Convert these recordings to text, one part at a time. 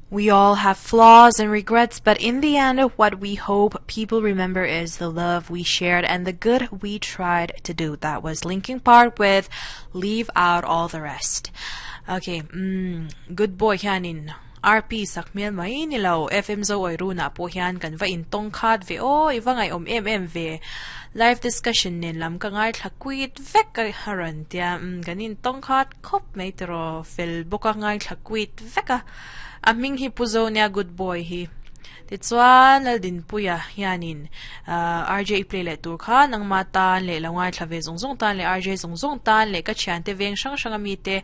We all have flaws and regrets, but in the end, what we hope people remember is the love we shared and the good we tried to do. That was Linkin Park with Leave Out All the Rest. Okay, mm, good boy hianin RP sak hmel mai ni lo FM Zo awi runah pawh hian kan va intawng khat ve aw, i va ngaihawm em em ve. Live discussion nen lam ka ngaithla quit vek a rawn tia, umm kan intawng khat khawp mai tiraw fel bawk a ngaithla quit vek a. A hming hi Pu Zonia good boy hi. Tichuan Laldinpuia hianin RJ i play leh tur kha nangma tan leh lo ngaithla ve zawng zawng tan leh RJ zawng zawng tan leh ka thiante veng hrang hrang ami te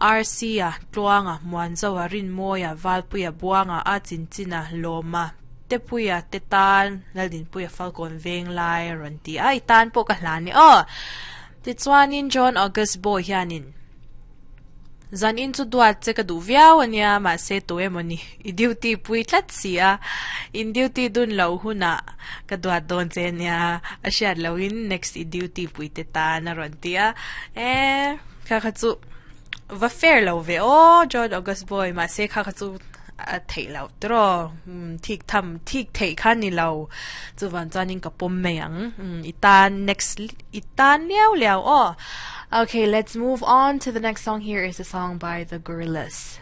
RC-a, Tluanga, Muanzoa, Rinmawia, Valpuia, Buanga, A Chinchina, Lawma, Tepuia te tan Laldinpuia Falkawn veng lai a rawn ti a, i tan pawh ka hlan e aw. Tichuanin John August Boy hianin Zan in chu duat che ka duh viau a nia, mahse tu emaw ni, i duty pui tlat si a, in duty dun loh hunah ka duat dawn che a nia, a hriat lohin next i duty pui te tan a rawn ti a, e kha kha chu va fair lo ve aw John August boy, mahse kha kha chu a theih loh tiraw, thik tham thik theih kha ni lo, chuvang chuanin ka pawm mai ang, i tan next i tan liau liau aw. Okay, let's move on to the next song. Here is a song by The Gorillaz.